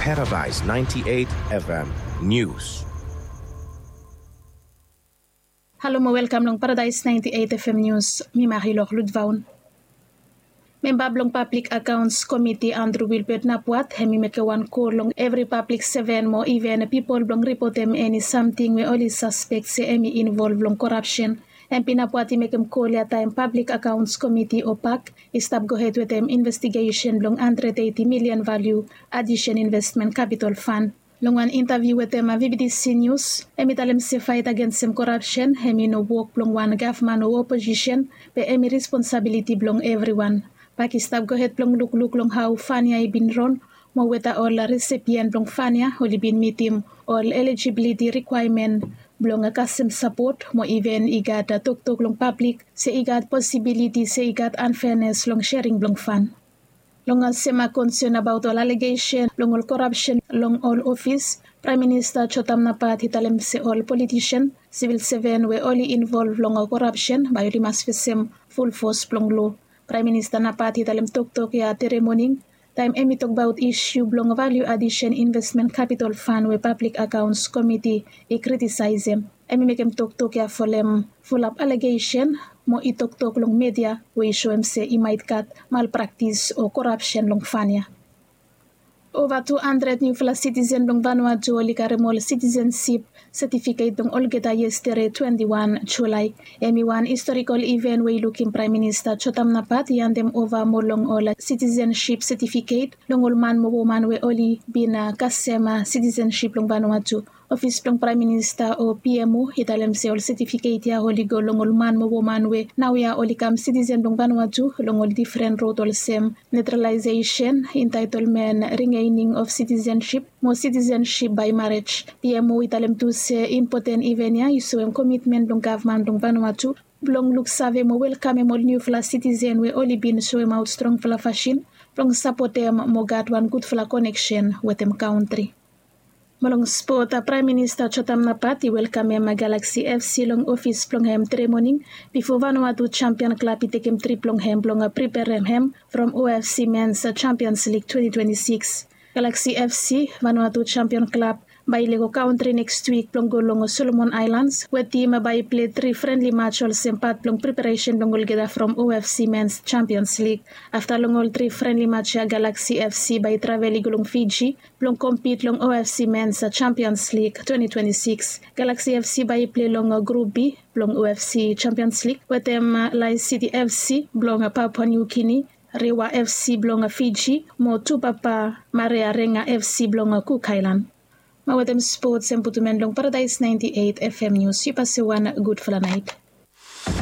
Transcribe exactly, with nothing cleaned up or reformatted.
Paradise ninety-eight F M News. Halo mo welkam long Paradise ninety-eight F M News. Mi Marilor Ludvaun. Memba blong Pablik Akaons Komiti Andrew Wilbert Napuat hem i mekem wan kol long evri pablik seven mo iven pipol blong ripotem eni samting we oli saspek se hem i involv long korapsen. Hem pinapuat i mekem kol ya taem Pablik Akaons Komiti o pak i stap gohed wetem investigesen blong handred eiti milian valiu adisen investmen kapitol fan. Long wan intaviu wetem vbtc nius, hem i talem se faet agensem korapsen hem i no wok blong wan gavman o oposisen, be hem i responsabiliti blong evriwan. Pak i stap gohed blong lukluk long hao fan ya i bin ron, mo weta ol resepien blong fan ya oli bin mitim ol elijibiliti rikwaemen blong kasem sapot mo iven i gat toktok long pablik se i gat posibiliti se i gat anfenes long sering blong fan. Long ol sema konsen abaot ol alegesen blong ol korapsen long ol ofis, Praem Minista Jotam Napat i talem se ol politisen, sivil seven we oli involv long korapsen bae oli mas fesem fulfos blong lo. Praem Minista Napat i talem toktok ya tere moning taem hem i tokbaot isiu blong valiu adisen investmen kapitol fan we Pablik Akaons Komiti i kritisaesem. Hem i mekem toktok ya folem fulap alegesen mo i toktok long media we i soem se i maet gat malpraktis o korapsen long fan ya. Ova tu handred niufala sitisen blong Vanuatu oli karem ol sitisensip setifiket blong olgeta yestere twenti wan Julae. Hem i wan istorikol iven we i lukim Praem Minista Jotam Napat i handem ova mo long ol sitisensip setifiket long ol man mo woman we oli bin kasem sitisensip blong Vanuatu. Ofis blong Praem Minista o P M O i talem se ol setifiket ya oli go long ol man mo woman we naoia oli kam sitisen blong Vanuatu long ol difren rod olsem netralaesesen, entaetolmen, rigening of sitisensip mo sitisensip bae marej. P M O i talem tu se impoten iven ya i soem komitmen blong gavman blong Vanuatu blong luksave mo welkamem ol niufala sitisen we oli bin soemaot strongfala fasin blong sapotem mo gat wan gudfala koneksen wetem kantri. Mo long spot, Praem Minista Jotam Napat i welkamem Galaxy F C long ofis blong hem tere moning bifo Vanuatu Champion Klab i tekem trip blong hem blong priperem hem from O F C Mens Champions League twenti twenti sikis. Galaxy F C, Vanuatu Champion Klab, bae i lego kantri neks wik blong go long Solomon Aelans we tim bae i pilei tri frenli maj olsem pat blong priperesen blong olgeta from O F C Mens Champions League. Afta long ol tri frenli maj ya Galaxy F C bae i travel i go long Fiji blong kompit long O F C Mens Champions League twenti twenti sikis. Galaxy F C bae i pilei long Grup B blong O F C Champions League wetem Lae City F C blong Papua New Guinea, Rewa F C blong Fiji mo Tupapa Marearenga F C blong Cook Island. Mo wetem spots hem putum en long Paradise ninety-eight F M News. Yu pase wan gudfala naet.